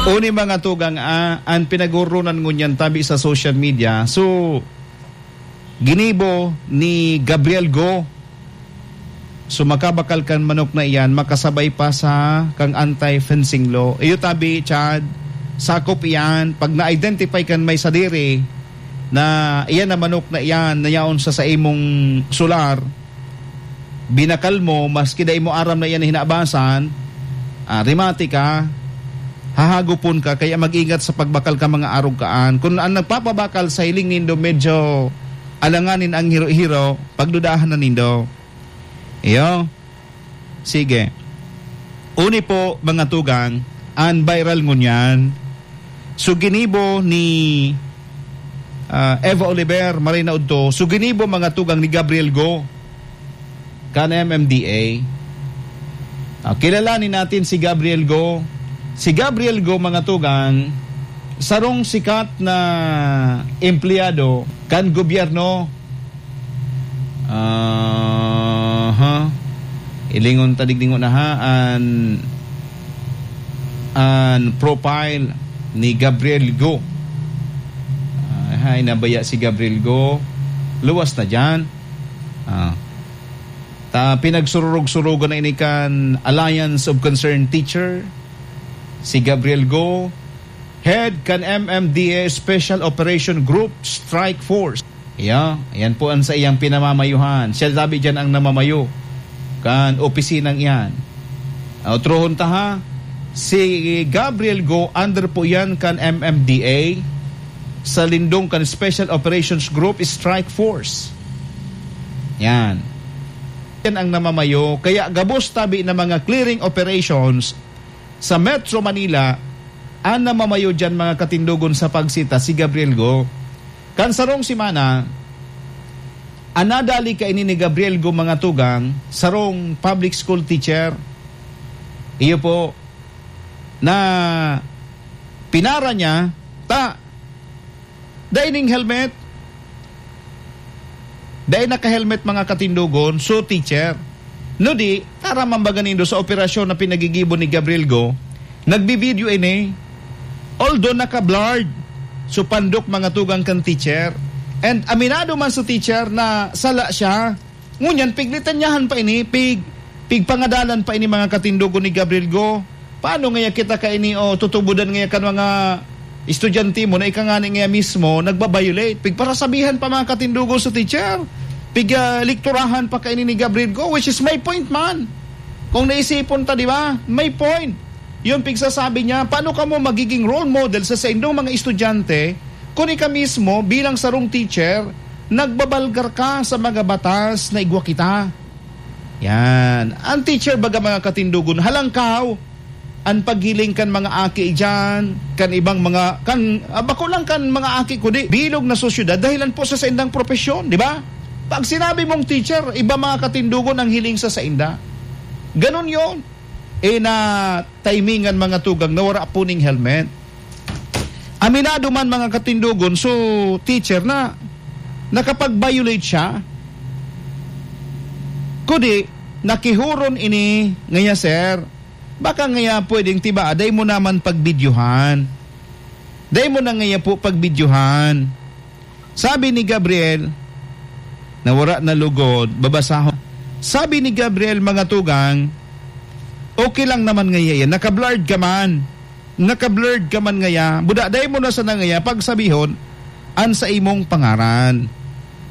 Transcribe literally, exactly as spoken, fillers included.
Uni, mga tugang, ah, an pinagoronan ngunyan tabi sa social media. So, ginibo ni Gabriel Go. So, makabakal kan manok na iyan, makasabay pa sa kang anti-fencing law. Iyo tabi, Chad, sakop iyan. Pag na-identify kan may sadiri na iyan na manok na iyan na yaon sa, sa imong solar, binakal mo, maski dai mo aram na iyan na hinabasan, ah, remate ka, hahagupon ka, kaya mag-ingat sa pagbakal ka, mga arog kaan. Kun ang nagpapabakal sa hiling nindo medyo alanganin ang hiro-hiro, pagdudahan na nindo. Iyo. Sige. Uni po, mga tugang, an viral ngunyan. So, ginibo ni, ah, Eva Oliver, maray na udto. So, ginibo, mga tugang, ni Gabriel Go kan M M D A. Ah, kilalanin natin si Gabriel Go. Si Gabriel Go, mga tugang, sarong sikat na empleyado kan gobyerno. Aha. Ilingon ta digdi ngona ha, an, an profile ni Gabriel Go. Ah, hay, nabaya si Gabriel Go. Luwas na diyan. Ah. Ta, pinagsururog-surugan na ini kan Alliance of Concerned Teacher, si Gabriel Go, head kan M M D A Special Operation Group Strike Force. Yeah, yan po ang sa iyang pinamamayuhan. Siya tabi diyan ang namamayo kan opisinang iyan. Ah, otrohon ta ha, si Gabriel Go under po yan kan M M D A sa lindong kan Special Operations Group Strike Force. Yan. Yan ang namamayo. Kaya gabos tabi na mga clearing operations sa Metro Manila, an namamayo diyan, mga katindogon, sa pagsita si Gabriel Go. Kan sarong semana, an nadali kaini ni Gabriel Go, mga tugang, sarong public school teacher. Iyo po, na pinara niya, ta, dai ning helmet. Dai naka-helmet, mga katindogon. So, teacher, no di, tara mambaga nindo sa operasyon na pinagigibo ni Gabriel Go, nagbi-video ini. Although naka-blurred, so pandok, mga tugang, kan teacher. And aminado man sa teacher na sala siya, ngunyan, piglitanyahan pa ini, pig-, pigpangadalan pa ini, mga katindogon, ni Gabriel Go. Paano ngaya kita kaini o tutubodan ngaya kan mga estudyante mo na ika ngani ngaya mismo nagba-violate? Pigparasabihan pa, mga katindogon, sa teacher. Pig, ah, lekturahan pa kaini ni Gabriel Go, which is may point man. Kung naisipon ta, di ba? May point. Yun pigsasabi niya, paano kamo magiging role model sa saindong mga estudyante kung ika mismo bilang sarong teacher, nagbabalgar ka sa mga batas na igwa kita? Yan. Ang teacher, baga, mga katindogon, halangkaw an paghiling kan mga aki diyan, kan ibang mga, kan, ah, bako lang kan mga aki, kundi bilog na sosyedad, dahilan po sa saindang propesyon, di ba? Pag sinabi mong teacher, iba, mga katindogon, ang hiling sa sainda. Ganun yon. Eh, na timingan, mga tugang, na wara po ning helmet. Aminado man, mga katindogon, so teacher, na nakapag-violate siya. Kundi, nakihuron ini ngaya, sir. Baka ngaya pwedeng tiba, dai mo naman pagbidyohan. Dai mo na ngaya po pagbidyohan. Sabi ni Gabriel, na wara na lugod, babasahon. Sabi ni Gabriel, mga tugang, okay lang naman ngaya yan. Naka-blurred ka man. Naka-blurred ka man ngaya. Buda, dai mo na sana ngaya pagsabihon an sa imong pangaran.